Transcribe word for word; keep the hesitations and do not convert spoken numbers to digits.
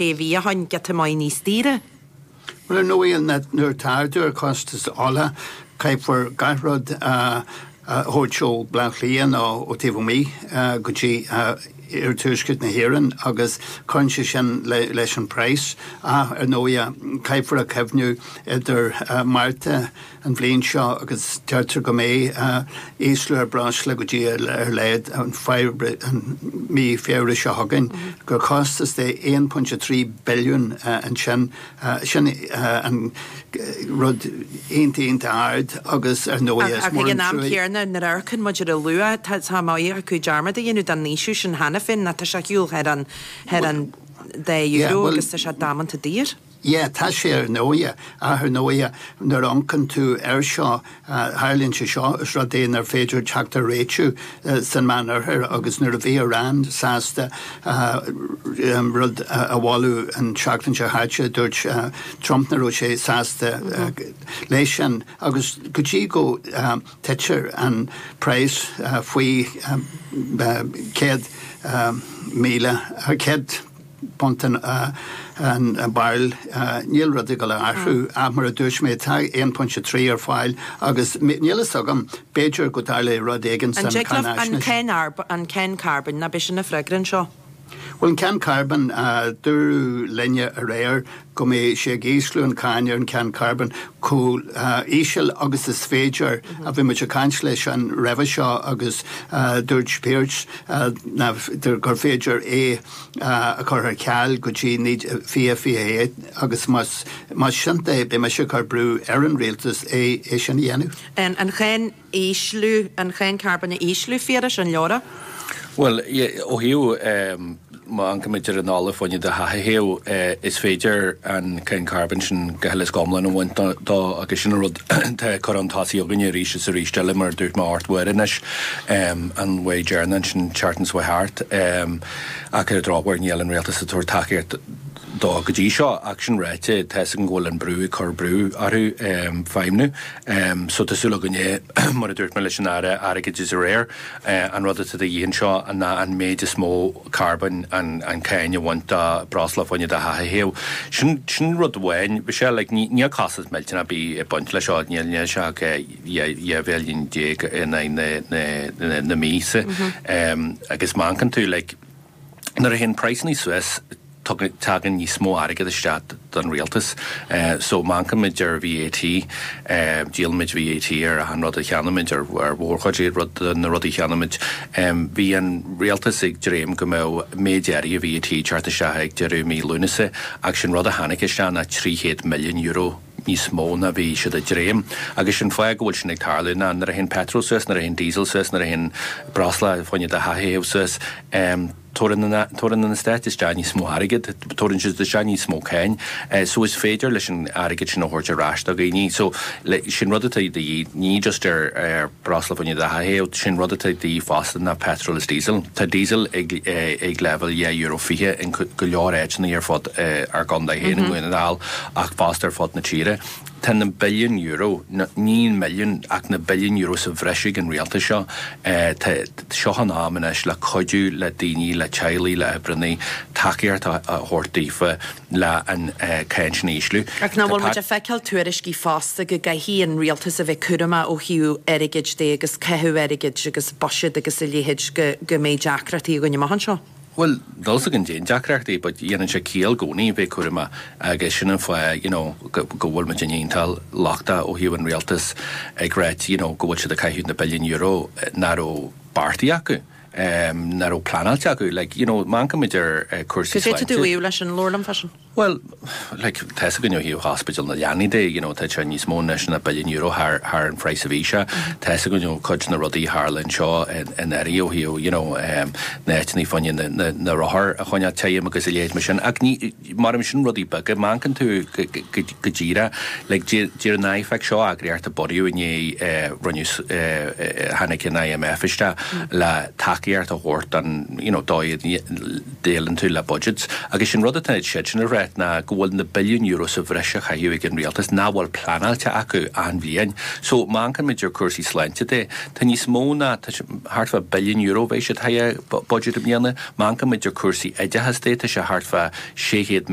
sé mhí ó shin giota maith níos daoire. Well ar ndóigh nuair atá ardú ar chostas ola caithfear gach rud a thabhairt ó Bhaile Átha Cliath nó ó taobh amuigh go dtí iarthuaisceart na hÉireann agus cuireann sé sin leis an praghas. Ach ar ndóigh caithfear a chuimhniú idir Márta an bhliain seo agus deirtear go mbeidh ísliú ar breosla go dtí ar a laghad an mí Feabhra seo chugainn, gur costas de aon pointe trí billiún ansin. Sin an rud iontach iontach ard agus ar ndóigh is mór an trua. Ach ag an am céanna nuair a amharcann muid ar an luach, tá maith acu dearmad a dhéanamh den ísliú sin cheana féin, tá sé ar shiúl thar an thar an dá euro agus tá sé damanta daor. Yeah, tá sé ar ndóigh, ach ar ndóigh nuair a amharcann tú air seo, tharlaíonn sé seo, is rud é nár féidir teacht ar réitiú san Meánoirthear agus nuair a bhí Iran sásta rud a mholadh an tseachtain seo chaite, dúirt Trump nach raibh sé sásta leis sin agus go dtí go dtitear an praghas faoi céad míle, céad punt an bairil, níl rud ag dul a athrú ach mar a dúirt mé tá aon pointe trí ar fáil agus níl fhios agam, b'fhéidir go dtarlóidh rud éigin san cáinaisnéis. An cáin carbóin, ná b'é sin an freagra anseo? Bhuel an cáin carbóin, dúradh linne aréir go mbeidh sé ag ísliú an cáin ar an cáin carbóin chomh íseal agus is féidir. Bhí muid ag caint leis an roimhe seo agus dúirt Pearse gur féidir é a chur ar ceal go dtí fiche fiche a haon agus más sin é beidh mise ag cur brú ar an rialtas é sin a dhéanamh. An cháin ísliú, an cháin carbóin a ísliú, Phiarais, an leor é? Bhuel, ó thaobh má amharcaimid ar an ola fá choinne do theach a théamh, is féidir an cáin carbóin sin go huile is go hiomlán a bhaint dó agus sin an rud atá curtha chun tosaigh againne arís is arís eile mar a dúirt mé ocht uair anois an uair dheireanach ansin tseachtain seo thart. Ach ar an drochuair níl an rialtas ag tabhairt tacaíocht dó go dtí seo ach sin ráite tá 'fhios againn go bhfuil an brú ag cur brú orthu feidhmniú. So tá súil againne mar a dúirt mé leis an Aire Airgid is aréir an rud atá de dhíth anseo ná an méid is mó carbóin an an cáin a bhaint de breosla fá choinne do theach a théamh. Sin sin rud amháin. Bhí sé like ní níl costas millteanach ar bith ag baint leis seo níl níl sé ach dhá mhilliún déag in aghaidh na na na míosa. Agus má amharcann tú like nuair a théann praghsanna suas tagann níos mó airgead isteach don rialtas. So má amharcaimid ar VAT, díolaimid VAT ar achan rud a cheannaímid, ar mhórchuid rud de na rudaí a cheannaímid. Bhí an rialtas ag dréim go mbeadh méid áirithe VAT ag teacht isteach ag deireadh mí Lúnasa ach sin rud a tháinig isteach ná trí chéad milliún euro níos mó ná bhí siad ag dréim. Agus sin fáth go bhfuil sin ag tarlú ná nuair a théann petrol suas, nuair a théann diesel suas, nuair a théann breosla fá choinne do theach a théamh suas, tabharann an stát isteach níos mó airgead, tabharann siad isteach níos mó cáin. So is féidir leis an airgead sin a thabhairt ar ais do dhaoine. So sin rud atá de dhíth, ní just ar ar breosla fá choinne do theach a théamh, sin rud atá de dhíth fosta ná petrol is diesel. Tá diesel ag ag leibhéal dhá euro fiche in go leor áiteanna ar fud ár gcontae féin i nDún na nGall ach fosta ar fud na tíre. Tá na billiún euro, ní milliún ach na billiún euro sa bhreis ag an rialtas seo. Tá seo an am anois le cuidiú le daoine, le teaghlaigh, le oibreanna, tacaíocht a thabhairt daofa le an cáin sin a ísliú. Ach nach bhfuil muid ag feiceáil tuairiscí fosta go gcaithfidh an rialtas a bheith cúramach ó thaobh airgid de agus caitheamh airgid agus buiséad agus a leithéid go go mbeidh deacrachtaí againn amach anseo? Bhuel, níl 'fhios againn cén deacrachtaí, but dhéanann sé ciall i gcónaí bheith cúramach agus sin an fáth, you know, go go bhfuil muid iontach lochtach ó thaobh an rialtas ag ráit, you know, go bhfuil siad ag caitheamh na billiún euro nach raibh beartaithe acu, um, nach raibh pleanáilte acu. Like, you know, má amharcaimid ar uh, cúrsaí Cad é tú ag leis an leabhar liom freisin? Well, like, tá 'fhios againn ó thaobh hospital na leanaí de, you know, tá sé níos mó anois ná billiún euro thar thar an phraghas a bhí sé. Tá 'fhios againn ó cuid na rudaí a tharla anseo in in Erie ó thaobh, you know, um, na áiteanna fá choinne na, na, na rothar a choinneáil tirim agus a leithéid mar sin. Ach ní mar sin rudaí beaga, má amharcann tú go, go, go díreach, like, deir an IFAC seo eagraíocht a bunaíodh i ndiaidh eh, rinneadh eh, tháinig an IMF isteach le tacaíocht a thabhairt don, you know, dóigh a ndéileálann tú le budgets. Agus sin rud atá siad sin a rá ráit ná go bhfuil na billiún euro sa bhreis á chaitheamh ag an rialtas nach bhfuil pleanáilte acu achan bhliain. So má amharcaimid ar cúrsaí sláinte de, tá níos mó ná thart fá billiún euro bheidh siad budget i mbliana, má amharcaimid ar cúrsaí oideachas de, tá sé thart fá sé chéad